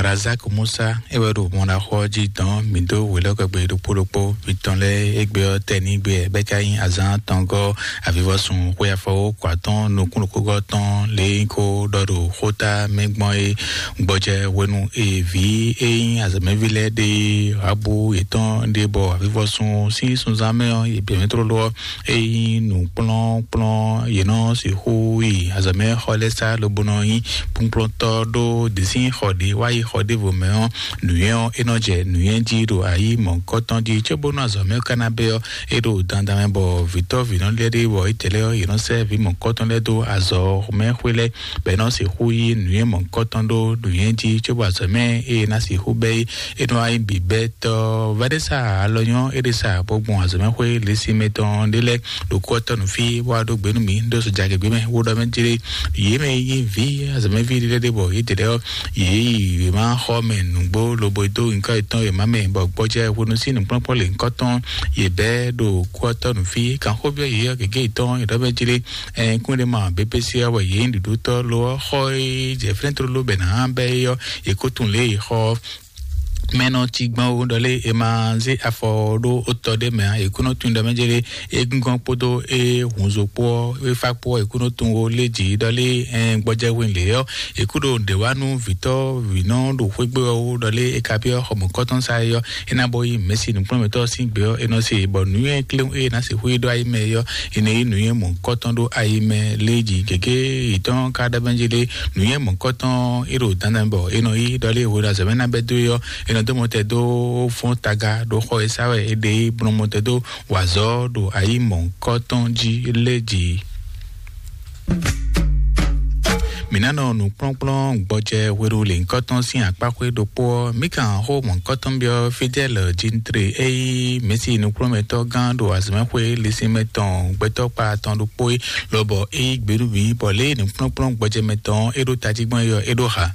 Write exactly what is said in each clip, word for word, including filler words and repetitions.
Azak Musa, é wɛ ɖo mɔɖaxɔ jí dɔn mǐ dó wělɔ́kɔgbe ɖokpó ɖokpó mitɔn lɛ́ɛ égbé ɔ́ tɛ ní gbé bɛ́ ka nyí azán tɔngɔ́ avivɔsun xwé afɔwó kɔ atɔ́n nukúnnukúgɔ́ tɔn lě nyí kó ɖɔ ɖo xóta mɛ gbɔn é gbɔjɛ hwenu e vǐ e nyí azɔ̌mɛví lɛ́ɛ ɖe abu yětɔn ɖe bɔ avivɔsun sín sunzán mɛ ɔ́ yi bǐ mɛ tlóló ɔ́, é nyí nǔkplɔ́nkplɔ́n yě nɔ sixú yi azɔ̌mɛxɔ lɛ́ɛ sá lobo nɔ nyí kplɔ́nkplɔ́ntɔ́ ɖó dǐsín xɔ ɖě wá yi xɔ ɖěvo mɛ ɔ́, nǔnywɛ́ ɔ́ é nɔ jɛ nǔnywɛ́ jí ɖo ayǐ mɔ̌hunkɔtɔn jí cóbónú azɔ̌ mɛ ká ná bɛ́ ɔ́, é ɖo dandan mɛ bɔ vǐtɔ́ vǐnɔ lɛ́ɛ ɖé bɔ é tɛ lɛ́ɛ ɔ́, yě nɔ sɛ́ vǐ mɔ̌hunkɔtɔn lɛ́ɛ dó azɔ̌ mɛ xwé lɛ́ɛ bɔ é nɔ sixú yí nǔnywɛ́ mɔ̌hunkɔtɔn ɖó nǔnywɛ́ jí cóbɔ azɔ̌ mɛ é ná sixú bɛ́ é. É nɔ wá nyí bǐbɛ́tɔ́ Vanessa alɔnyɔ́ é ɖe sa bó gbɔn azɔ̌mɛxwé lěsinmɛ tɔn ɖé lɛ́ɛ ɖo kú ɔ́ tɔ́ nú fí bó wá ɖó gbe nú mǐ ɖó sɔjagěgbé mɛ wó ɖɔ mɛ jlé yě mɛ yí ví azɔ̌mɛví ɖé lɛ́ɛ ɖé bɔ yě dě lɛ́ɛ ɔ́, yě yi yě má xɔ mɛ nǔgbó lobo dó nyǐkɔ yětɔn yě má mɛ bɔ gbɔjɛ hwenu sín nǔkplɔ́nkplɔ́n lě nyǐkɔ tɔn yě bɛ́ ɖo kú ɔ́ tɔ́ nú fí. Kanxóbyɔ́ yě ɔ́ gěgé yětɔn yě ɖɔ mɛ jlé. Ɛn kún ɖé ma bébé sí ɔ́ wɛ yě nyí ɖuɖútɔ́ lo ɔ́ xɔ e jɛ flɛ́ntrolo bɛ nǎ bɛ́ é ɔ́, yě kó tunwun lě e xɔ mɛ nɔ cí gbɔn ó ɖɔ lé è ma zé afɔ ɖó otɔ ɖé mɛ ǎ. È kú nɔ tunwun ɖɔ mɛ jɛ lé égúngɔ́n kpódó é hunzo kpó ɔ́, é fá kpó ɔ́, è kú nɔ tunwun ó lé jǐ ɖɔ lé ɛn gbɔjɛhwe lě ɔ́, è kú ɖo ɖě wá nú vǐtɔ́ vǐnɔ ɖo xwégbé ɔ́ wú ɖɔ lé é ka byɔ́ xɔmɔ̌kɔ́tɔn sá é ɔ́, é ná bó yí mɛ̌si nǔkplɔ́nmɛtɔ́ ɔ́ sín gbě ɔ́, é nɔ se bɔ nǔnywɛ́ kléwún e é ná sixú yi ɖó ayi mɛ é ɔ́, è nɔ yí nǔnywɛ́ mɔ̌hunkɔtɔn ɖó ayi mɛ lé jí gěgé yětɔn ka ɖɔ mɛ jí lé. Nǔnywɛ́ mɔ̌hunkɔtɔn é ɖo dandan bɔ é nɔ yí ɖɔ lé hwenu azɔ̌ mɛ ná bɛ́ dó é ɔ́, é nɔ dó mɔtɛ dó fɔ́n taga ɖó xɔ e sá wɛ é ɖe é blɔ́n mɔtɛ dó wazɔ́ ɖo ayi mɔ̌hunkɔtɔn jí lé jí. Mǐ ná nɔ nǔkplɔ́nkplɔ́n gbɔjɛ hwenu lěhunkɔtɔn sín akpáxwé ɖokpó ɔ́, mǐ kan xó mɔ̌hunkɔtɔn byɔ́ Fidɛ́l Jintre e nyí mɛ̌si nukplɔ́nmɛtɔ́ gán ɖo azɔ̌mɛxwé lɛ́sínmɛ tɔn gbɛtɔ́kpa tɔn ɖokpó é, lobɔ é yí gbe nú mǐ, bɔ lě e nǔkplɔ́nkplɔ́n gbɔjɛmɛ tɔn ɔ́ é ɖó tají gbɔn é ɔ́, é ɖó xa.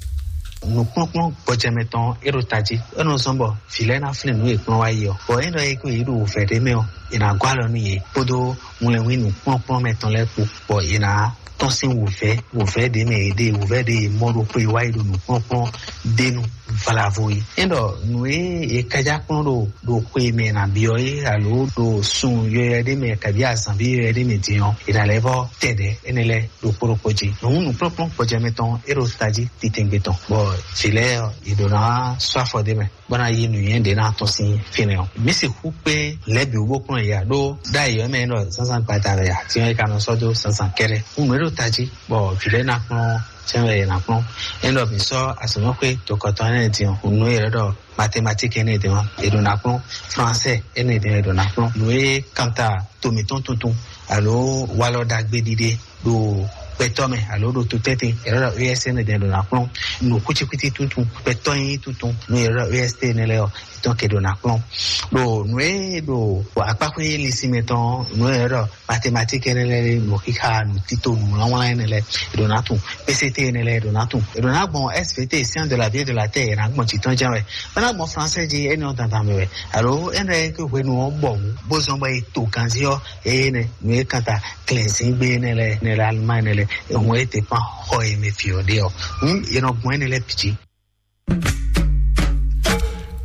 Nǔkplɔ́nkplɔ́n gbɔjɛmɛ tɔn ɔ́, é nɔ zɔ́n bɔ vǐ lɛ́ɛ ná flín nǔ e kplɔ́n wá yi ɔ́. Bɔ é ɖɔ é kó yě ɖo wǔvɛ́ ɖé mɛ ɔ́, è nǎ gɔ́ alɔ nú yě kpódó wlɛnwí nǔkplɔ́nkplɔ́n mɛ tɔn lɛ́ɛ kpó, bɔ yě ná tɔ́n sín wǔvɛ́, wǔvɛ́ ɖě mɛ yě ɖe, wǔvɛ́ ɖě yě mɔ ɖokpó e wá yi ɖo nǔkplɔ́nkplɔ́n ɖe nu vlavo yi. É ɖɔ nǔ e è kájá kplɔ́n ɖo ɖo xwe mɛ è nǎ byɔ́ é alo ɖo sun yɔyɔ ɖé mɛ kabí azǎnví yɔyɔ ɖé mɛ din ɔ́, è nǎ lɛ́ vɔ́ tɛ ɖɛ̌ énɛ́ lɛ́ɛ ɖokpó ɖokpó jí. Nǔ nǔkplɔ́nkplɔ́n gbɔjɛmɛ tɔn é ɖo tají titɛngbé tɔn, bɔ vǐ lɛ́ɛ ɔ́, yě ɖǒ ná sɔ́ afɔ ɖé mɛ bó ná yí nǔnywɛ́ ɖě ná tɔ́n sín fínɛ́ ɔ́. Mǐ sixú kpé lɛ̌ bǐ wú bó kplɔ́n yě ǎ, ɖó ɖ'ayǐ ɔ́ mɛ é ɖɔ zǎnzǎn gbada wɛ ǎ, din ɔ́ é ka nɔ sɔ́ dó zǎnzǎn kɛ́ɖɛ́. Nǔ e ɖo tají bɔ vǐ lɛ́ɛ ná kplɔ́n sɛ́n wɛ è nǎ kplɔ́n. É ɖɔ mǐ sɔ́ azɔ̌mɛxwé tokɔtɔn énɛ́ din ɔ́, nǔ e è ɖɔ mathématique énɛ́ din ɔ́, è ɖǒ ná kplɔ́n. Français énɛ́ din ɔ́, è ɖǒ ná kplɔ́n. Nǔ e kanta to mǐtɔn tuntun alo walɔ ɖagbe ɖiɖe ɖo gbɛtɔ́ mɛ alo ɖo to tɛ́ntin, è ɖɔ E S énɛ́ din è ɖǒ ná kplɔ́n. Nǔ kwítíkwítí tuntun, gbɛtɔ́ nyí tuntun, nǔ e è ɖɔ E S T énɛ́ lɛ́ɛ ɔ́, tɔn ke ɖo ná kplɔ́n. Ɖo nǔ e ɖo akpáxwé linsin mɛ tɔn, nǔ e ɖɔ mathématique énɛ́ lɛ́ɛ, nǔ xixa, nǔ tito, nǔ wlánwlán énɛ́ lɛ́ɛ, è ɖǒ ná tunwun. P C T énɛ́ lɛ́ɛ, è ɖǒ ná tunwun. È ɖǒ ná gbɔn S V T, science de la vie et de la terre, è nǎ gbɔn jǐ tɔn jɛ́n wɛ. Bó ná gbɔn français jí, énɛ́ ɔ́ dandan mɛ wɛ. Alo énɛ́ e hwenu ɔ́ bɔ wǔ, bó zɔ́n bɔ è to ganzí ɔ́, énɛ́ nǔ e kan ta klɛ̌nzíngbe énɛ́ lɛ́ɛ, énɛ́ lɛ́ɛ Allemagne énɛ́ lɛ́ɛ, è hɔn é dépend xɔ e mɛ fi ɔ́ ɖe ɔ́. Hǔn è nɔ gbɔn énɛ́ lɛ́ɛ bǐ jí.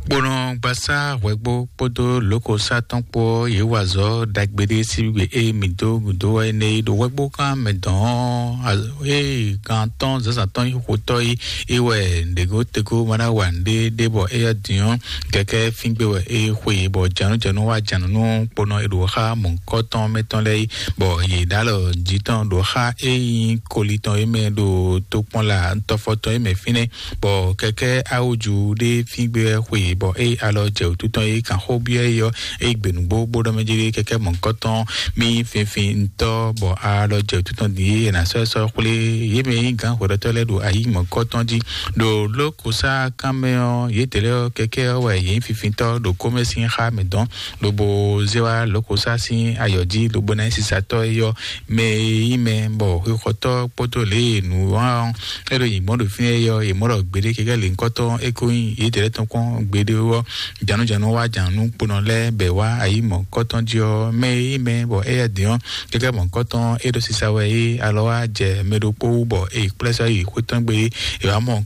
Kponɔ gbasá hwɛgbo kpódó lǒkosá tɔn kpó ɔ́, yě wa azɔ̌ ɖagbe ɖé síbígbe e mǐ dó gǔdo wɛ énɛ́ é ɖo hwɛgbo gán mɛ dɔn ɔ́, ée gán tɔn zǎnzǎn tɔn nyí xotɔ́ é, é wɛ ɖěgótegó ma ná wa nǔɖé ɖé bɔ éyɛ́ din ɔ́, kɛkɛ́ fíngbé wɛ é xwe, bɔ jǎnújǎnú wá jǎnú nú kponɔ e ɖo xá mɔ̌hunkɔtɔn mɛ tɔn lɛ́ɛ é, bɔ yě ɖó alɔ jí tɔn ɖo xá e nyí koli tɔn é mɛ ɖo tokpɔnla tɔfɔ tɔn é mɛ fínɛ́, bɔ kɛkɛ́ awúju ɖé fíngbé wɛ xwe, bɔ é alɔ jɛ wǔtu tɔn é kan xó byɔ́ é ɔ́, é gbe nǔgbó bó ɖɔ mɛ jí kɛkɛ́ mɔ̌hunkɔtɔn mì finfin ŋutɔ́, bɔ alɔ jɛ wǔtu tɔn din é è nǎ sɔ́ ɛ sɔ́ xwlé yě mɛ e nyí gǎn hwɛɖɔtɔ́ lɛ́ɛ ɖo ayǐ mɔ̌hunkɔtɔn jí. Ɖo lǒkosá kan mɛ ɔ́, yědɛɛ lɛ́ɛ ɔ́, kɛkɛ́ ɔ́ wɛ yě nyí fifintɔ́ ɖo kómɛ sín xá mɛ dɔn, lobo zé wá lǒkosá sín ayɔ jí, lobo ná nyí sisatɔ́ é ɔ́, mɛ e nyí mɛ bɔ xwexɔtɔ́ kpódó lě e nǔ wá ɔ́, é ɖo nyi gbɔn ɖo fínɛ́ é ɔ́, è mɔ ɖɔ gbeɖé kɛkɛ́ lě ŋkɔtɔn é ko nyí yědɛɛ lɛ́ɛ tɔn kpɔ́n gbeɖé ɔ́, jǎnújǎnú wá jǎnú kponɔ lɛ́ɛ bɛ wá ayǐ mɔ̌hunkɔtɔn jí ɔ́, mɛ e nyí mɛ bɔ éyɛ́ din ɔ́, kɛkɛ́ mɔ̌hunkɔtɔn é ɖo sisa wɛ é alɔ wá jɛ mɛ ɖokpó wú bɔ é yi kplɛ́ sɔ́ yi xwé tɔn gbe é, è wǎ mɔ